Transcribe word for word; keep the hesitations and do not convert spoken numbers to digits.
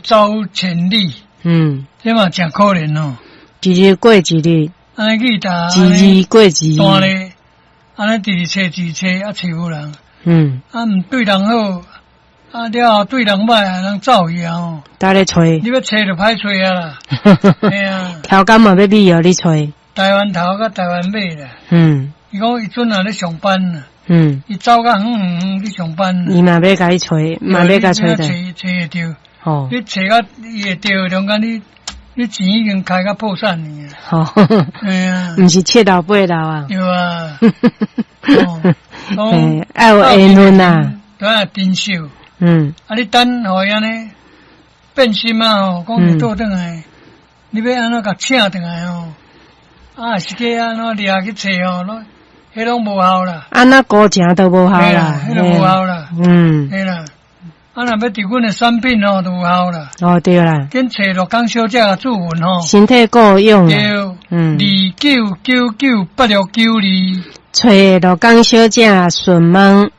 走千里，嗯，這嘛誠可憐哦。一日過一日，按呢去踏，一日過一日，單咧，按呢直直揣直揣，啊揣無人。嗯，啊毋對人好，啊了後對人歹，人走去啊吼。搭咧揣，你欲揣就歹揣啊啦。嘿啊，頭工嘛欲美予你揣。台灣頭佮台灣尾啦。嗯。伊講伊陣若咧上班啦。嗯。伊走較遠遠遠去上班。伊嘛欲共你揣，嘛欲共揣著。揣揣會著。哦。你揣甲伊會著，中間你你錢已經開甲破產去啊。吼。嘿啊。毋是七老八老啊。對啊。哦。愛有緣分啊。都愛珍惜。嗯。啊，你等予伊按呢變心啊吼，講你倒轉來，你欲按怎共請轉來吼？啊，是去按怎掠去揣吼，攏彼攏無效啦。按怎孤情都無效啦。彼攏無效啦。嗯。嘿啦，啊，若欲佇阮的產品吼，就有效啦。哦，對啦。緊揣鹿港小姐註文吼。身體顧養。對。嗯。二九九九八六九二。揣鹿港小姐順問。